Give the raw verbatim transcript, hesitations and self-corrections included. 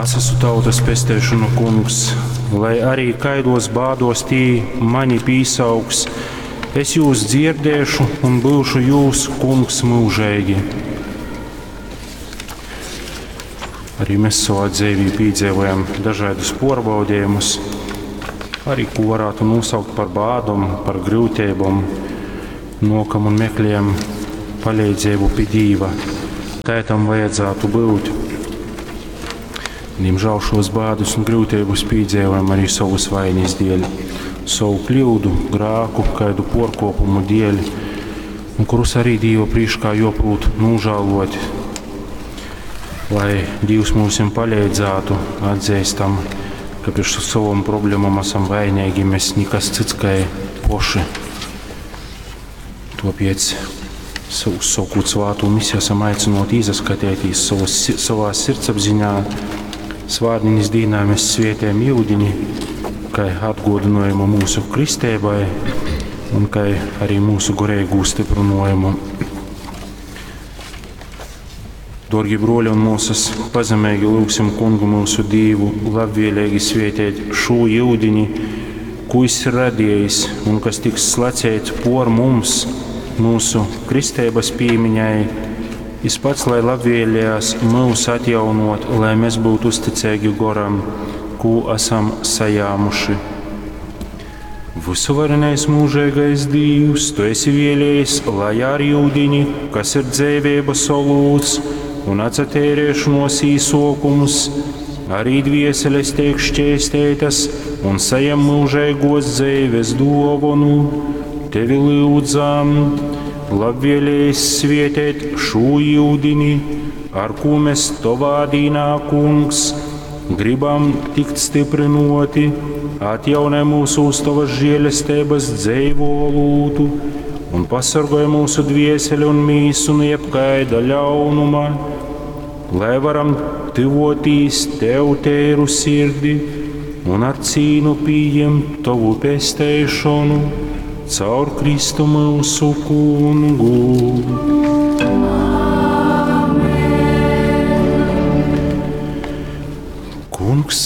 Es esmu tautas pesteišonu kungs, lai arī kaidos bādos tī mani pīsaugs, es jūs dzierdēšu un būšu jūs kungs mūžīgi. Arī mēs savā dzīvī piedzīvojam dažādus pārbaudījumus, arī ko varētu nosaukt par bādom, par grūtībām, nokam un meklējam palīdzību pie Dīva. Tā tam vajadzētu būt. Diemžēl šos bādus un grūtības piedzīvojam arī savas vainas dēļ, savu kļūdu, grāku, kādu porkopumu dēļ, un kurus arī Dīva priekšā joprūt nožēlot, lai Dievs mums palīdzētu, atzīstam, ka priekš savam problēmām esam vainīgi, mēs nekas cits kā poši. Tāpēc uzsākot svātu misiju esam aicināti izaskatīties savas, savā sirdsapziņā. Svātdienas dīnā mēs svietējam iudini, kā atgodinājumu mūsu kristēbai un kā arī mūsu garīgu stiprinājumu. Dārgi broļi un māsas, pazemīgi lūgsim kungu mūsu Dievu, labvēlīgi svietēt šo iudini, ko jis ir radījis un kas tiks slacēts por mums, mūsu kristēbas pīmiņai. Jis pats, lai labvēlējās mūs atjaunot, lai mēs būtu uzticīgi goram, ko esam sajāmuši. Visuvarenais mūžīgais Dievs, tu esi vēlējis, lai ar iudini, kas ir dzīvības olūts un atcerēšanos īsokums, arī dvieseles tiek šķēstētas un sajem mūžīgos dzīves dāvanu. Tevi lūdzam, labvēlējis svietēt šo iudini, ar ko mēs tovā dīnā, kungs, gribam tikt stiprinoti, atjaunē mūsu uz tavas žēlestības dzeivo olūtu un pasargāj mūsu dvieseli un mīsu no jebkaida ļaunuma, lai varam tuvotīs tev tēru sirdi un ar cīnu pieņemt tavu pesteišanu caur Kristu mūsu kungu. Amen. Kungs